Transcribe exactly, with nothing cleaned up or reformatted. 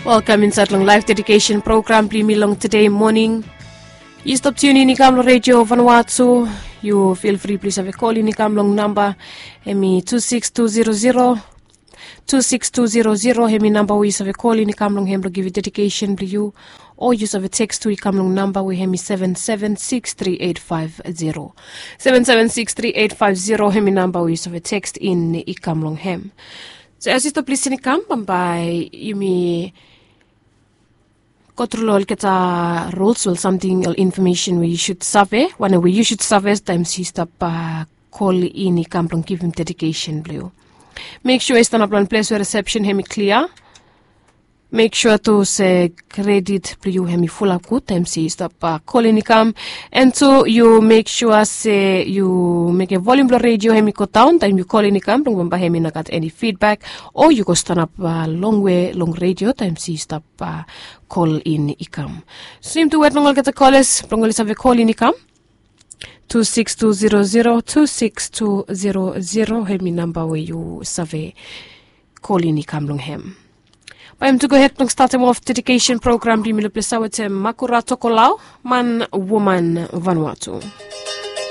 Welkam insaet long laef dedikesen program blong yumi long tede moning. Yu stap tiun in i kam long redio vanua tu. Yu fil fri blong yu save kol in i kam long namba hem i tu siks tu zero zero. Tu siks tu zero zero hem i namba we yu save kol in i kam long hem blong givim dedikesen blong yu. O yu save teks tu i kam long namba we hem i seven seven siks tri eit faef zero. Seven seven siks tri eit faef zero hem i namba we yu save teks in i kam long hem. So as yu stap lisin i kam bambae yumi go tru long olgeta rules o samting o infomesen we yu sud save wanem we yu sud save taem yu stap kol in i kam blong givim dedikesen blong yu. Mek sua yu stanap long ples we resepsen hem i klia. Mek sua tu se kredit blong yu hem i fulap gud taem yu stap kol in i kam. En tu yu mek sua se yu mekem volium blong redio hem i go daon taem yu kol in i kam blong bambae hem i no gat eni fidbak o yu go stanap longwe long redio taem yu stap kol in i kam. Swim tu wet long olgeta koles blong oli save kol in i kam. Tu siks tu zero zero tu siks tu zero zero hem i namba we yu save kol in i kam long hem. Bae yumi tu gohed blong statem of dedikesen program blong yumi long ples ya wetem Makura Tokolao, man woman Vanuatu.